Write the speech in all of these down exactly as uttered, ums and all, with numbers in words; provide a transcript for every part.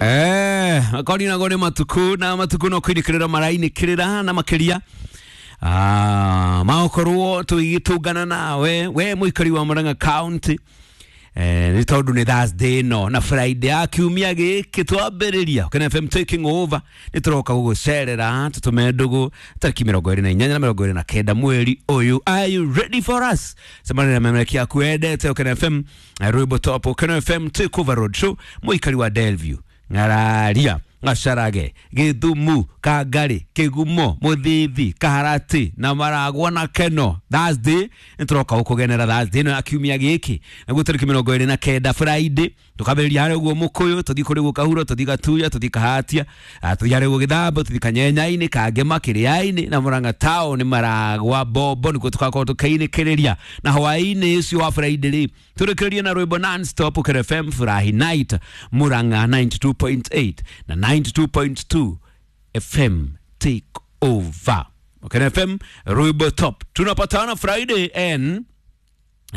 Eh, akoni nago nĩ matuku na matuku no kũinĩkĩrĩra marainĩkĩrĩra na makĩria ah, magokorwo tũgĩtũngana nawe we mũikari wa Murang'a County eh, nĩ tondũ nĩ Thursday ĩno na Friday ya kiumia gĩkĩ twambĩrĩria Ũkena F M taking over nĩ tũroka gũgũcerera tũtũme ndũgũ tarĩki mĩrongo ĩrĩ na inyanya na mĩrongo ĩrĩ na kenda mweri ũyũ. Are you ready for us? Cemania na memereki yaku wendete Ũkena F M, rwĩmbo top Ũkena F M take over road show mũikari wa Delview, Ng'araria, Gacarage, Gĩthumu, Kangari, Kĩgumo, Mũthithi, Kaharati na Maragwa na Keno. Thursday nĩ tũroka gũkũgenera Thursday ĩno ya kiumia gĩkĩ naguo tarĩki mĩrongo ĩrĩ na kenda Friday tũkambĩrĩria harĩa ũguo Mũkũyũ, tũthiĩ kũrĩ guo Kahuro, tũthiĩ Gatuya, tũthiĩ Kahatia, tũthiĩ harĩa ũguo Gĩthambo, tũthiĩ Kanyenyainĩ, Kangema, Kĩrĩainĩ na Murang'a town, Maragwa, Bombo nĩkuo tũgakorwo tũkĩinĩkĩrĩria na hwaĩ-inĩ ũcio wa Friday rĩ tũrĩkĩrĩrie na rwĩmbo non-stop Ũkena F M Furahi Night Murang'a ninety two point eight na ninety two point two F M take over. Ũkena F M rwĩmbo top. Tunapatana Friday and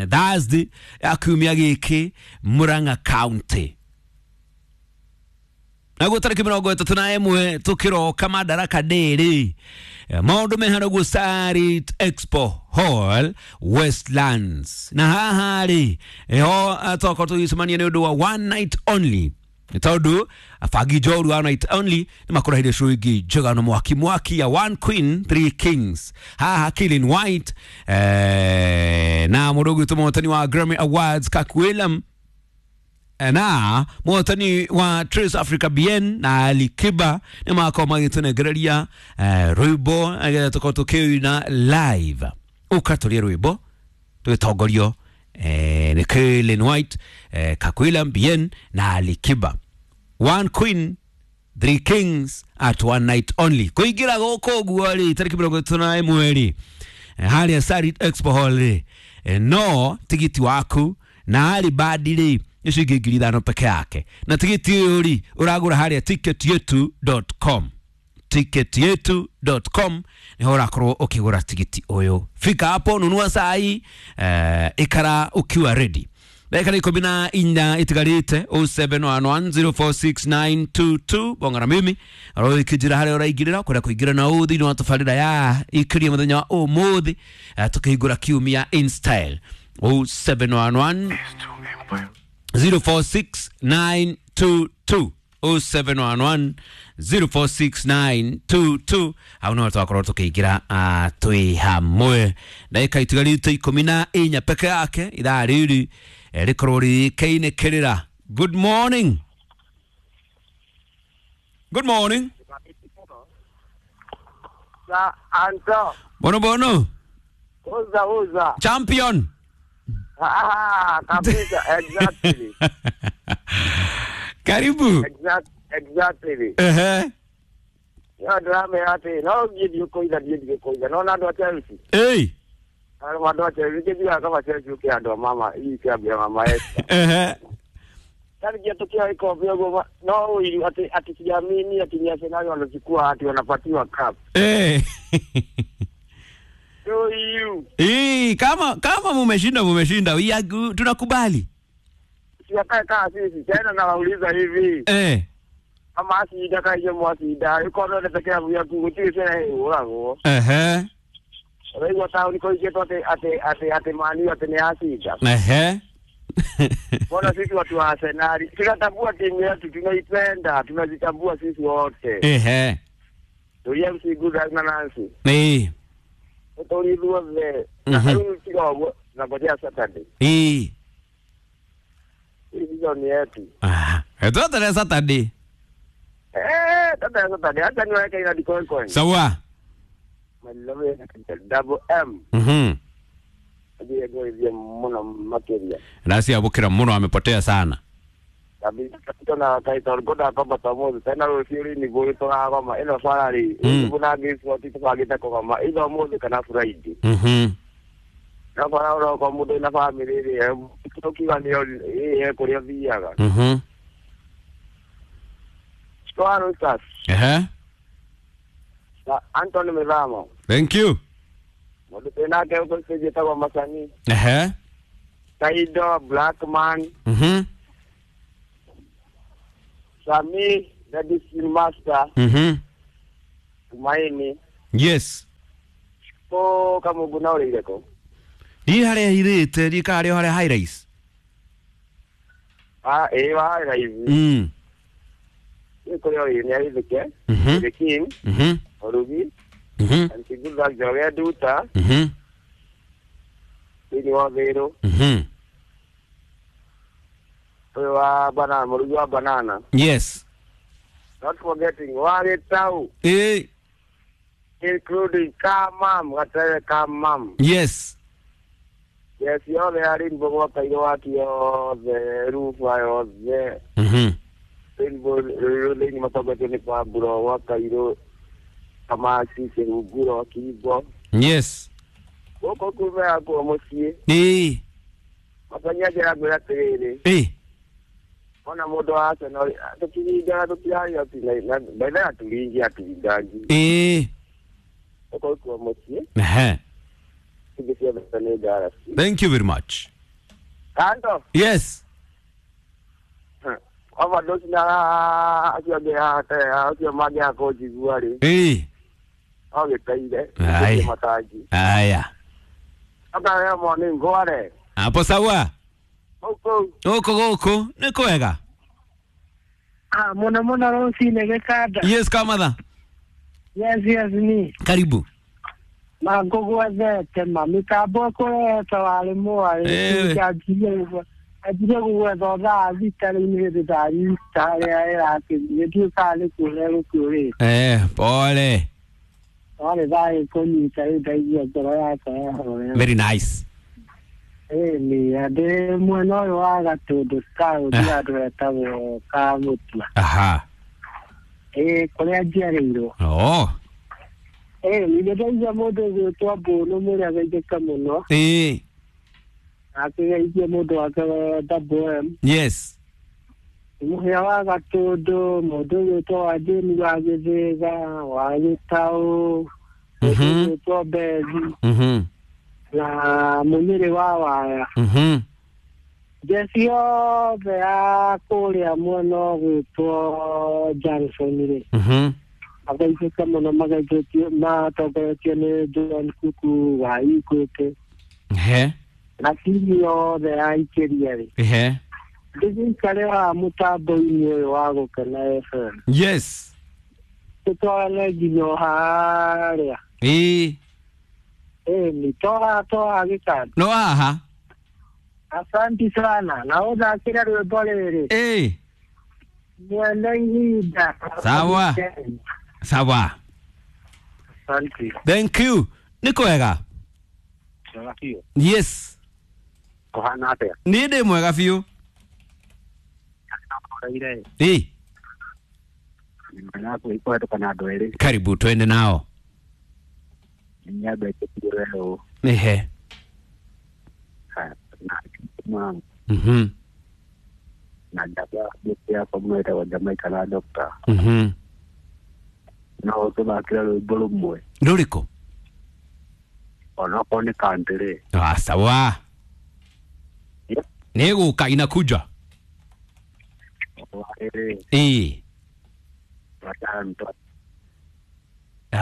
Thursday ya kiumia gĩkĩ Murang'a County. Naguo tarĩki mĩrongo ĩtatũ na ĩmwe tũkĩroka Madaraka Day rĩ maũndũ me harĩa ũguo Sarit Expo Hall Westlands, na haha rĩ ĩho twakorwo tũgĩcemania nĩ ũndũ wa one night only nĩ tondũ abangi njoru one night only nĩ makũrahirie show ĩngĩ njega na mwaki mwaki ya One Queen Three Kings haha Killing White eh, na mũndũ ũgwĩtwo mũhotani wa Grammy Awards Kirk Whalum na mũhotani wa Trace Africa B N na Ali Kiba nĩ makorwo magĩtũnengereria eh, rwĩmbo nĩgetha tũkorwo tũkĩina live ũkatũria rwĩmbo tũgĩtongorio eh, nĩ Killing White eh, Kirk Whalum B N na Ali Kiba. One Queen Three Kings at one night only kũingĩra gũkũ ũguo rĩ tarĩki mĩrongo ĩtatũ na ĩmwe rĩ harĩa Sarit Expo Hall rĩ no tigiti waku na Ali Badi rĩ nĩ ciringi ngiri ithano peke yake na tigiti ũyũ rĩ ũragũra harĩa ticket yetu dot com ticket yetu dot com niho ũrakorwo ũkĩgũra tigiti ũyũ. Fika hapo nunua sai eh, ikara ukiwa ready. Dakika ikũmi na inya itigarĩte oh seven one one zero four six nine two two bongana mimi aro ikĩnjĩra harĩa ũraingĩrĩra kwenda kũingĩra na ũũ thĩinĩ wa tabarĩra ya ikĩria mũthenya wa ũmũthĩ tũkĩhingũra kiumia in style oh seven one one zero four six nine two two oh seven one one zero four six nine two two hau no twakorwo tukiingira twi hamwe ndagika itigarite ikumi na inya peke yake ithaa riri rikorwo rĩkĩinĩkĩrĩra. Good morning. Good morning. Sa Anto. Bono bono. Uza uza. Champion. Ah, kabisa, exactly. Karibu. Exact, exactly. Eh. Ya drama yate, no give koida give koida. No na ndo Chelsea. Hey. Ano ndo Chelsea kidia kama Chelsea ukia ndo mama, hii kia bia mama yetu. Eh. Tani kia tukia iko vyogo no ili ati ati siamini ati ni Arsenal wanachukua ati wanapatiwa cup. Eh. So you. Eh, kama kama mumeshinda mumeshinda, we are good, tunakubali. Siwakae kaa sisi tena nawauliza hivi. Eh. Kama asida kaje mwasida, yuko ndo pekee ya kuguti tena urago. Eh. Raiwa tao niko yetu ate ate ate ate mani ate ni asida. Eh. Mbona sisi watu wa Arsenal tunatambua timu yetu, tunaipenda, tunazitambua sisi wote. Eh. Tulia msiguza na Nancy. Eh. Utolidua ve. Na haru tiga na ngojea Saturday. Eh. Hizo ni yetu. Ah, eto Saturday. Eh, tata Saturday hata niweke ina dikoi coin. Sawa. Malove double M. Mhm. Ndiye go hivi muno makeria. Nasi abukira muno amepotea sana. Kabisa tuna kaita goda kama tamozo tena rosiri ni go to kama ino salary kuna gifu tupagita kwa kama ino mozo kana Friday. Mhm. Na kwa ro kwa mudo na family ri tukiwa ni eh kuria thiaga. Mhm. Twaro sasa. Eh. Na Anthony Mizamo. Thank you. Mundu tena ke uko sije kwa masani. Eh. Taido Blackman. Mhm. Sami the district master. Mhm. Tumaini. Yes. Ko kamugu na uri ko. Ndi haria hirite ndi ka haria haria high rise. Ah eh wa high rise. Mm. Ni ko yo ni ari dike. Mhm. The king. Mhm. Orugi. Mhm. Antiguza Joge Duta. Mhm. Ni wa Vero. Mhm. Wa banana, murugi wa banana. Yes. Not forgetting Wale Tau. Eh. Including Kamam, Gatere Kamam. Yes. Yes, yothe arĩ mbogo kairo waki yothe rufa yothe. Mhm. Rainbow thĩinĩ matongoretio nĩ Pablo wa Kairũ Kamasi Kĩhunguro Kibo. Yes. Gũkũ kume yakwo mũciĩ. Ĩĩ. Matanya njĩra ngwĩra atĩrĩrĩ. Ĩĩ. Ona mũndũ wa Arsenal tũkiringaga tũtiraria betha aturingi aturingangi. Ĩĩ. Gũkũ kuo mũciĩ. Ehe. Thank you very much. Kando. Yes. Overdose na acio angĩ acio mangĩaga kũnjigua rĩ. Ĩĩ. Ogĩteire. Ai. Aya. Aka morning ngware. Hapo sawa. Huko. Huko huko nĩ kwega. Ah, mona mona rũcinĩ gĩkanda. Yes kamatha. Yes yes ni. Karibu. Ma ngũgwethete ma mĩtambo ĩkũrehete warĩ mwarĩ anjirie anjirie gũgwetha thaa thita rĩu nĩ hĩndĩ ndarita harĩa ĩrakĩthiĩ ndiũĩ kana nĩ kũũra ĩgũkĩũrĩte. Eh, pole. Warĩ thaa ĩkũnyita rĩu ndaigua ngoro yakwa yahorera. Very nice. Ĩni ndĩ mwena ũyũ wa Gatũndũ taũni handũ hetagwo Kamũtua. Aha. Ĩĩ kũrĩa njiarĩirwo. Oh. Eh, nĩ ndaigua mũndũ ũgwĩtwo Mbũnũ mũrĩa mũno. Ĩĩ. Akĩgeithia mũndũ wake Double M. Yes. Mũhĩa wa Gatũndũ, mũndũ ũgwĩtwo Wanjĩni wa Gĩthĩga, wa Gĩtaũ, mũndũ ũgwĩtwo Bethi. Mhm. Na Mũnyĩrĩ wa Waya. Mhm. Njeci yothe ya kũrĩa mwena ũgwĩtwo Johnson rĩ. Mhm. Magaithĩka mũno magaithĩtio matongoretio nĩ John Kuku wa Equity. Ehe. Na timu yothe ya Ikĩria rĩ. Ehe. Ndĩgĩikare haha mũtambo-inĩ ũyũ wa Gũkena F M. Yes. Tũtwarane nginya o harĩa. Ĩĩ. Ĩni toha toha gĩkanda. No haha. Asanti sana na ũthakĩre rwĩmbo rĩrĩ. Ĩĩ. Mwene ihinda. Sawa. Sawa. Asante. Thank you. Nĩ kwega. Mwega biũ. Yes. Kũhana atĩa? Niĩ ndĩ mwega biũ. Ĩĩ. Kũhetũka na andũ erĩ. Karibu twende nao. Nyambe ĩtĩkĩre ũũ. Ehe. Na Mhm. na njamba yakwa mũno ĩtagwo Jamaica na Doctor. Mhm. No tũthakĩre rwĩmbo rũmwe. Rũrĩkũ? Onokorwo nĩ country. Ah, sawa. Nĩgũka inakuja. Ĩĩ.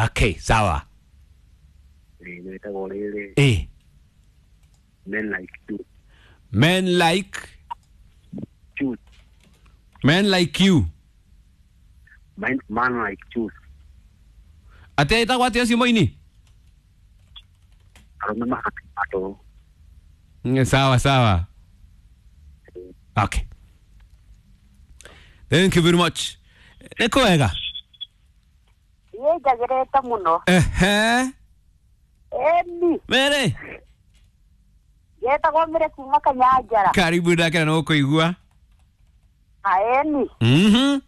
Okay, sawa. Rĩtagwo rĩrĩ. Ĩĩ. Men like you. Men like you. Men like you. Man, man like you. Atĩa ĩtagwo atĩa ũcio mũini? Arũme mahatũ. Sawa sawa. Okay. Thank you very much. Nĩ kwega? Niĩ njagĩrĩte mũno. Ehe. Ĩni. Mere. Njetagwo Mĩrĩ kuma Kanyanjara. Karibu ndakena nĩ gũkũigua. Ĩni. Mhm.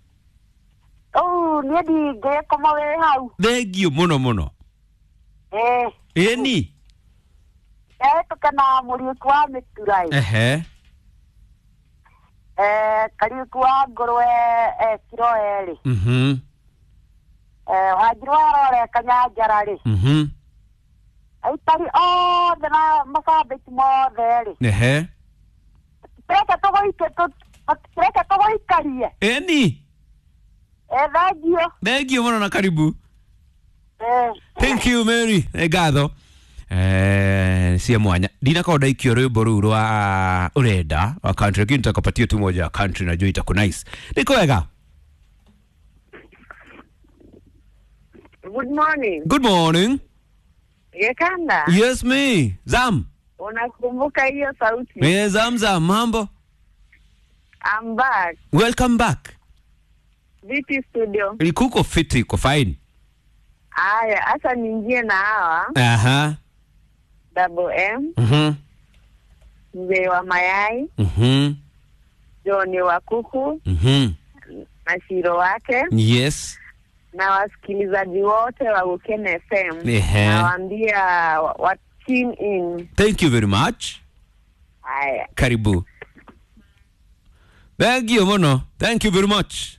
Rĩu niĩ ndingĩkoma wĩ hau. Thengiũ mũno mũno. Ĩĩ. Ĩni. Ndahĩtũka na Mũriũki wa Mĩtura ĩ. Ehe. Eh, Kariũki wa ngũrwe eh, kiro erĩ. Mhm. Eh, Wanjiru wa Rore Kanyanjara rĩ. Mhm. Aikari othe na macambĩki mothe rĩ. Ehe. Tũreke tũgũike tũreke tũgũikarie. Ĩni. Eh, thank Thank you muno na karibu. Eh. Thank you Mary. Nĩ ngatho. Eh, cia mwanya ndinakorwo ndaikio rwimbo rũu rwa urenda wa country, lakini nitakapatia tu moja ya country, najua itaku nice. Nĩ kwega. Good morning. Good morning. Gekanda. Yes me Zam. Unakumbuka hiyo sauti? Eh, Zam Zam, mambo? I'm back. Welcome back. Vipi studio? Kuko fiti, iko fine. Aya, hasa niingie na hawa Aha. Double M, Mhm. mzee wa mayai, Mhm. John wa kuku Mhm. na Shiro wake Yes. na wasikilizaji wote wa Ukene F M. Ehe. Nawaambia wa, wa tune in. Thank you very much. Haya. Karibu. Thank you muno. Thank you very much.